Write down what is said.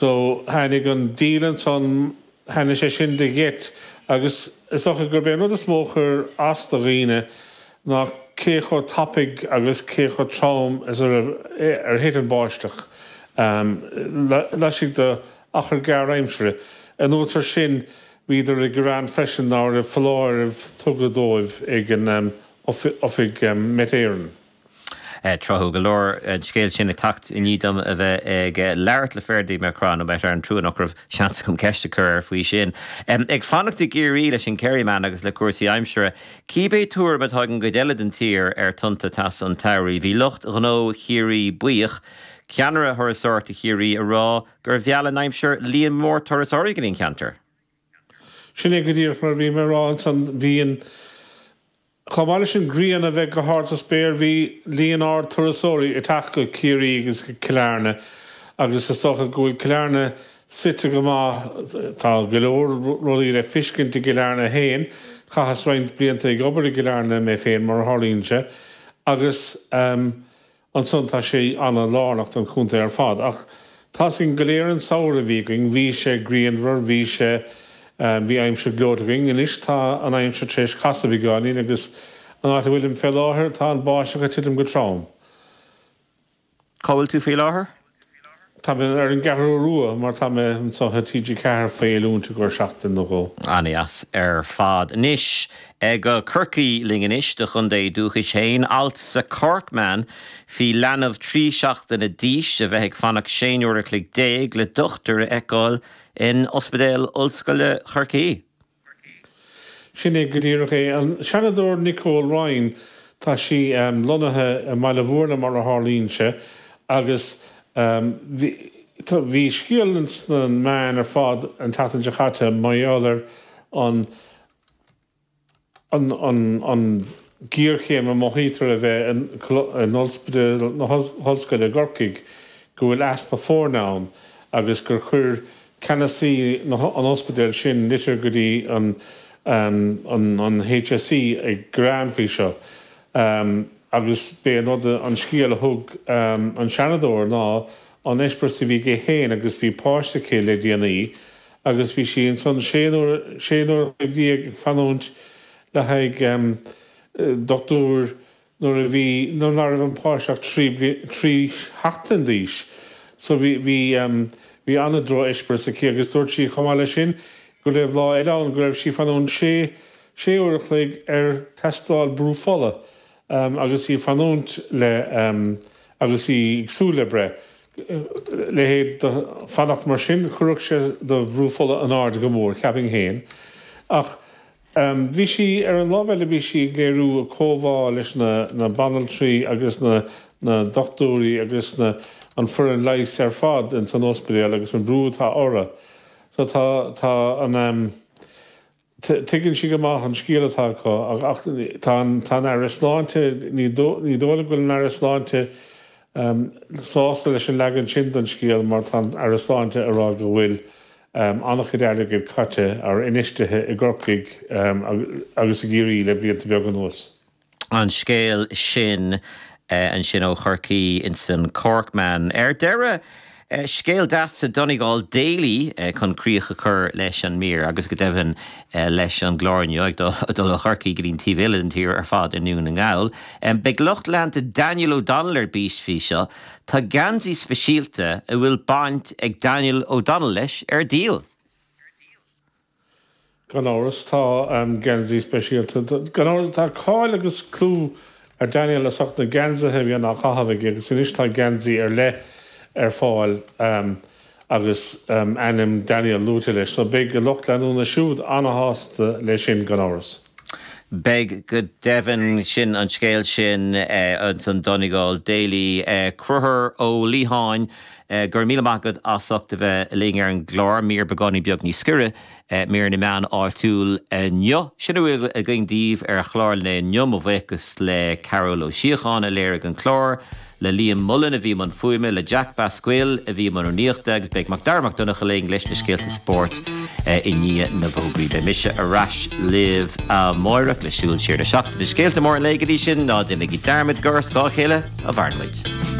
So, tháinig an díol ansan, tháinig sé sin de gheit agus is dócha gurb é an rud is mó a chuir as do dhaoine ná cé chomh tapaidh agus cé chomh trom is a raibh, ar thit an báisteach laistigh de achar gearr aimsire. Anuas ar sin, bhíodar ag gearán freisin ná raibh foláireamh tugtha dóibh ag an Oifig Met Éireann. Tráthúil go leor an scéal sin ag teacht i ndiaidh dom a bheith ag labhairt le Ferdia McCrann ó Met Éireann, trua nach raibh seans agam ceist a chur air faoi sin. Ag fanacht i gCiarraí leis an Kerryman agus le cúrsaí aimsire, cíbé tuairim atá ag an gcuid eile den tír ar tonnta teasa an tsamhraidh, bhí lucht gnó Chiarraí buíoch, ceannaire Thurasóireachta Chiarraí ag rá gur mheall an aimsir líon mór turasóirí go dtí an ceantar. Sin é go díreach mar a bhí mé a rá ansan, bhí an. Chomh maith leis an ghrian a bheith go hard sa spéir, bhí líon ard turasóirí ag teacht go Ciarraí agus go Cill Airne agus is dócha go bhfuil Cill Airne suite go maith. Tá go leor rudaí le feiscint i gCill Airne féin. Chaitheas roinnt blianta ag obair i gCill Airne mé féin, mar a tharlaíonn sé, agus. Ansan tá sé ana lárnach don chontae ar fad. Ach tá's againn go léir an samhradh a bhí againn, bhí sé grianmhar, bhí sé, bhí aimsir gleoite againn. Anois tá an aimsir tar éis casadh beagáinín agus an áit a bhfuilim fé láthair tá an báisteach ag titim go trom. Cá bhfuil tú faoi láthair? Tá mé ar an gCeathrú Rua mar tá mé anseo i TG4 faoi oiliúint i gcomhair seachtain nó dhó. An-dheas ar fad. Anois go Corcaigh linn anois, do chontae dúchais féin. Alt sa Corkman faoi leanbh 13 seachtaine d'aois a bheith ag fanacht 16 uair a chloig le dochtúir a fheiceáil in Ospidéal Ollscoile Chorcaí. Sin é go díreach é. An Seanadóir Nicole Ryan, tá sí lonnaithe i mBaile Bhúirne mar a tharlaíonn sé agus bhí scéal sna meáin ar fad an tseachtain seo caite mar gheall ar an an ghéarchéim a mothaítear a bheith in Ospidéal na hOllscoile i gCorcaigh, go bhfuil easpa foirne ann agus gur chuir ceannasaí an ospidéil sin litir go dtí an an HSE ag gearán faoi seo. Agus b'é an rud, an scéal a thug an Seanadóir ná an eispéireas a bhí aici féin agus bhí páiste aici le déanaí agus bhí sí ansan sé uair a chloig ag fanúint le haghaidh dochtúir nuair a bhí, nuair ná raibh an páiste ach 3 sheachtain d'aois. So bhí, bhí, bhí an-droch-eispéireas aici agus dúirt sí chomh maith leis sin go raibh lá eile ann go raibh sí ag fanúint sé, sé uair a chloig ar tástáil brú fola agus í ag fanúint le, agus í ag súil le breith. Leithéid de fanacht mar sin, chuirfeadh sé do bhrú fola in airde go mór, cheapfainn féin. Ach bhí sí, ar an lámh eile, bhí sí ag léiriú a comhbhá leis na na banaltraí agus na na dochtúirí agus na an foireann leighis ar fad ins an ospidéal agus an brú atá orthu. So tá tá an tuigeann sí go maith an scéal atá acu ach tá an tá an Aire Sláinte, ní dóigh liom go bhfuil an Aire Sláinte sásta leis an leagan sin den scéal mar tá an Aire Sláinte ag rá go bhfuil an-chuid airgid caite ar infheistithe i gCorcaigh agus i gCiarraí le blianta beaga anuas. An scéal sin ansin ó Chorcaí insan Corkman. Ar deireadh, scéal deas sa Donegal Daily chun críoch a chur leis an mír agus go deimhin leis an gclár inniu, ag dul ó Chorcaí go dtí an taobh eile den tír ar fad i nDún na nGall. Beidh lucht leanta Daniel O'Donnell ar bís faoi seo. Tá geansaí speisialta a bhfuil baint ag Daniel O'Donnell leis ar díol. Gan amhras tá geansaí speisialta. Gan amhras tá cáil agus clú ar Daniel as ucht na geansaithe a bhíonn á chaitheamh aige agus anois tá geansaí ar leith ar fáil agus ainm Daniel luaite leis. So beidh a lucht leanúna siúd ana-shásta leis sin gan amhras. Beidh go deimhin. Sin an scéal sin ins an Donegal Daily. Conchúr Ó Liatháin, go raibh míle maith agat as ucht a bheith linn ar an gclár. Mír beagáinín beag níos giorra, mír na meán áitiúil inniu. Sin a bhfuil againn daoibh ar chlár an lae inniu. Mo bhuíochas le Carol Ó Síocháin a léirigh an clár. le Liam Mullen a bhí i mbun fuaime, le Jack Basquille a bhí i mbun rúnaíochta agus beidh Macdara Mac Donncha linn leis na scéalta spóirt i ndiaidh na bhfógraí. Beidh mise ar ais libh amáireach le Súil Siar na Seachtaine. Scéalta móra an lae go dtí sin, ná déanaigí dearmad gur ar scáth a chéile a mhaireann muid.